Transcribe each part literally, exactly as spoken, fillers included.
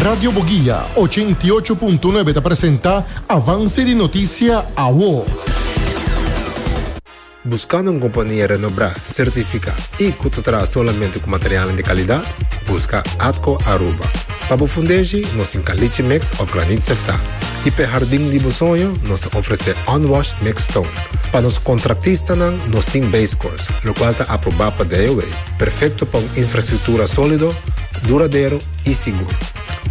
Radio Boguia ochenta i ocho punto nuebe ta presenta Avance di Noticia Awo. Buscando un compania renombra, certifica y cu ta traha solamente cu material di calidad? Busca Atco Aruba. Pa bo fundeshi, nos tin caliche mix of graniet sefta. Y pa jardin di bo soño, nos ta ofrece unwashed mixed stone. Pa nos contratistanan, nos tin base course, locual ta aproba pa D O W. Perfecto pa un infrastructura solido, duradero y sigur.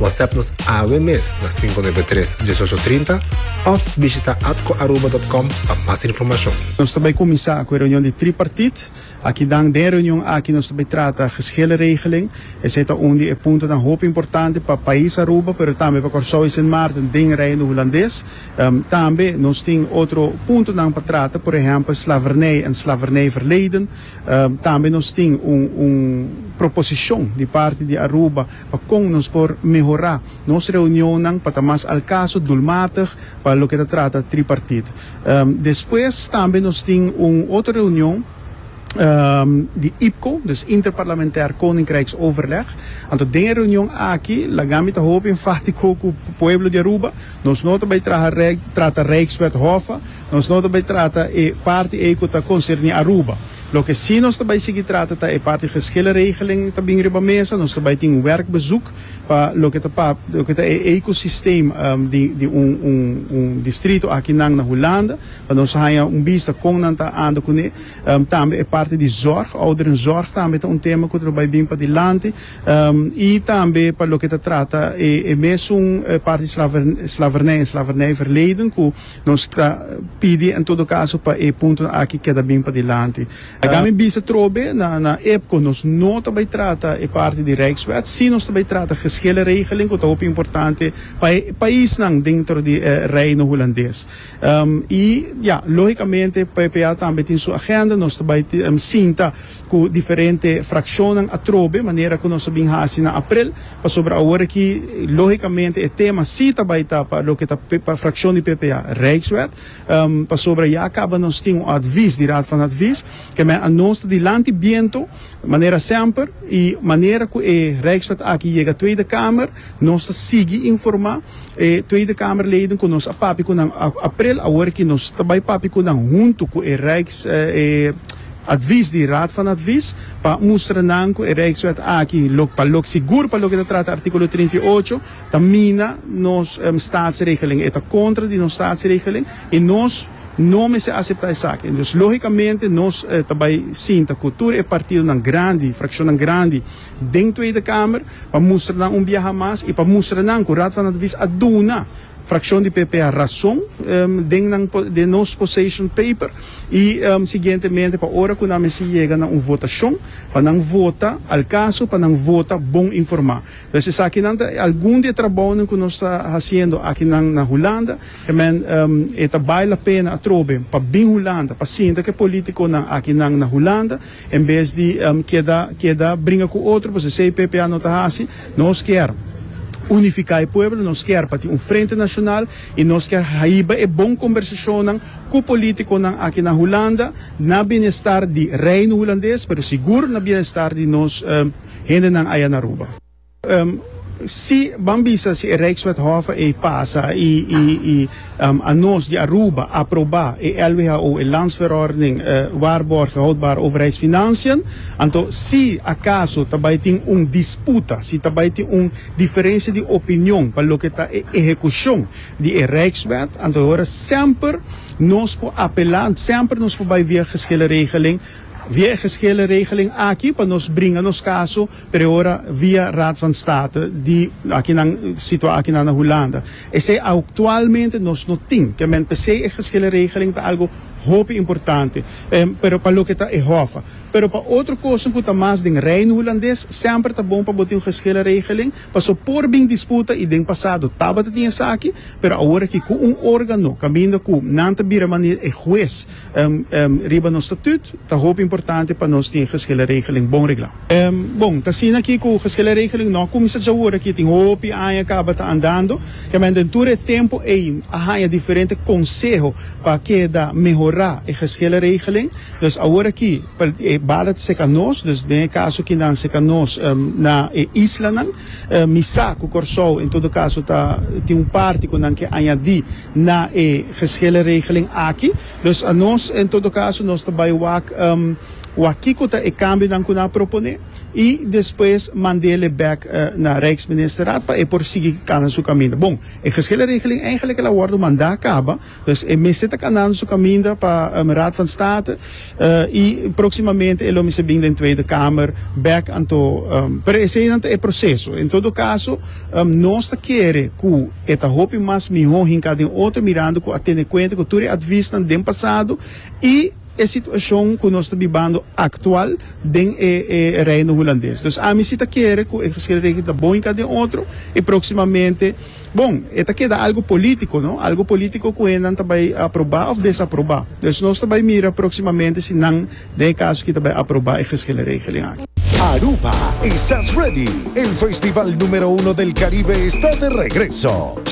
WhatsApp nos awe mes na cinco nuebe tres, uno ocho tres cero of bishita atcoaruba punto com pa mas informacion. Nos tambe a cuminsa cu e reunion di tripartiet. Aki den e reunion aki nos tambe ta trata geschillenregeling. Esey ta un di e puntonan hopi importante pa pais Aruba, pero tambe pa Corsou y Sint Maarten den Reino Hulandes. Um, tambe nos tin otro puntonan pa trata, por ehempel, slavernij en slavernijverleden. Um, tambe nos tin un, un proposicion di parti di Aruba pa con nos por mehora nos reunion pa ta mas al caso, doelmatig, pa loke ta trata tripartiet. Um, despues tambe nos tin un otro reunion um, di I P C O, dus Interparlementair Koninkrijksoverleg. Anto, den e reunion aki, laga mi ta hopi enfatico cu pueblo di Aruba, nos no ta bay trata Rijkswet H O F A, nos no ta bay trata e parti ey cu ta concerni Aruba. Loke si nos tambe sigui trata ta e parti geschillenregeling tambe riba mesa, nos tambe tin un werkbezoek pa loke ta pa loke ta e ecosysteem um, di, di un, un, un distrito aki na na Hulanda, pa nos haya un bista con nan ta anda cune. Um, tambe e parti di zorg, ouderenzorg tambe ta un tema cu ta bay bin pa dilanti, um, y tambe pa loke ta trata e, e mesun parti slavernij en slavernijverleden, cu nos ta pidi en todo caso pa e punto aki keda bin pa dilanti. Uh, mi bisa trobe na na I P C O nos no tambe trata e parti di Rijkswet, si nos tambe trata geschillenregeling, cu ta hopi importante pa paisnan den di eh, Reino Hulandes. Um, y ja, logicamente P P A tambe tin su agenda, nos tambe um, sinta cu diferente fraccionnan atrobe, manera cu nos a bin hasi na april, pasobra awor aki logicamente e tema si tambe ta pa loke ta pa fraccion di P P A Rijkswet, um, pasobra ya caba nos tin un advies di Raad van Advies, kiermen nos dilanti biento, manera semper y manera cu e Rijkswet aki yega Tweede Kamer, nos ta sigui informa e Tweede Kamerleden cu nos a papia cu nan april, awor cu nos tambe papia cu nan hunto cu e Rijks eh, advies di Raad van Advies pa mustra nan cu e Rijkswet aki lo pa lo sigur pa loke ta trata articulo trinta i ocho ta mina nos um, staatsregeling, e ta contra di nos staatsregeling y nos no mester acepta esaki. Dus logicamente nos eh, tambe sinta cu tur e partidonan grandi, fraccionnan grandi den Tweede Kamer pa mustra nan un biaha mas y pa mustra nan cu Raad van Advies a duna fraccion di P P A rason um, den, nan, den nos position paper y um, siguientemente pa ora cu nan yega na un votacion pa nan vota al caso, pa nan vota bon informa. Dus esaki nan algun di e trabou cu nos ta haciendo aki na, na Hulanda, kiermen um, e ta bale la pena atrobe pa bin Hulanda, pa sinta cu politiconan aki na, na Hulanda, en bes di um, keda keda bringa cu otro, pasobra esey P P A no ta asina. Nos kier unifica e pueblo, nos kier pa un frente nacional y nos kier hiba e bon conversacion cu politiconan aki na Hulanda, na bienestar di Reino Hulandes, pero sigur na bienestar di nos um, hendenan aya na Aruba. Um, si ban bisa si Rijkswet H O F A e pasa y y y um, anos di Aruba aproba e L W H O, e Landsverordening uh, waarborgen houdbare overheidsfinanciën, anto si acaso tambe tin un disputa, si tambe tin un diferencia di opinion pa loke ta e ehecucion di e Rijkswet, anto ora semper nos por apela, semper nos por bay via geschillenregeling, via geschillenregeling aki pa nos bringa nos caso, pero ora via Raad van State di aki na situa aki na Hulanda. Esey actualmente nos no tin, kiermen p'esey e geschillenregeling ta algo hopi importante, um, pero pa loke ta e H O F A. Pero pa otro cos cu ta mas den Reino Hulandes, semper ta bon pa bo tin un geschillenregeling, paso por bin disputa y den pasado tabata tin esaki, pero awor aki cu un organo, caminda cu nan ta bira manera e hues um, um, riba nos statuut, ta hopi importante pa nos tin geschillenregeling bon regla. Um, bon, ta asina aki cu geschillenregeling no a cuminsa awor aki, tin hopi aña caba ta andando, kiermen den tur e tempo ey a haya diferente conseho pa keda mehora e geschillenregeling. Dus awor aki, bala ta serka nos, dus den kaso ku nan serka nos um, na e islanan, uh, mi sa ku Kòrsou, en todo kaso, ta, tin un parti ku nan ke añadí na e geschillenregeling aki. Dus nos, en todo kaso, nos ta bai wak um, wak kiko ta e kambionan ku nan a proponé i despues mand'é back uh, na Rijksministerraad pa e por sigui kana su kaminda. Bon, e geschillenregeling eigenlijk el a wòrdu mandá kaba, dus e mester ta kanando su kaminda pa um, Raad van State uh, i próksimamente e lo mester bin den Tweede Kamer back anto um, pero esei ta e proseso. En todo kaso, um, nos ta kere ku e ta hopi mas mihó hinka den otro, mirando ku a tene kuenta ku tur advies den pasado i e situashon ku nos ta bibando aktual den e, e Reino Hulandes. Dus ami si ta kere ku e geschillenregeling ta bon hinka den otro i próksimamente, bon, e keda algu polítiko, no? Algu polítiko ku nan ta bai aprobá òf desaprobá. Dus nos ta bai mira próksimamente si nan den kaso ku ta bai aprobá e geschillenregeling aki. Aruba, ¿estás ready? El festival número uno del Caribe está de regreso.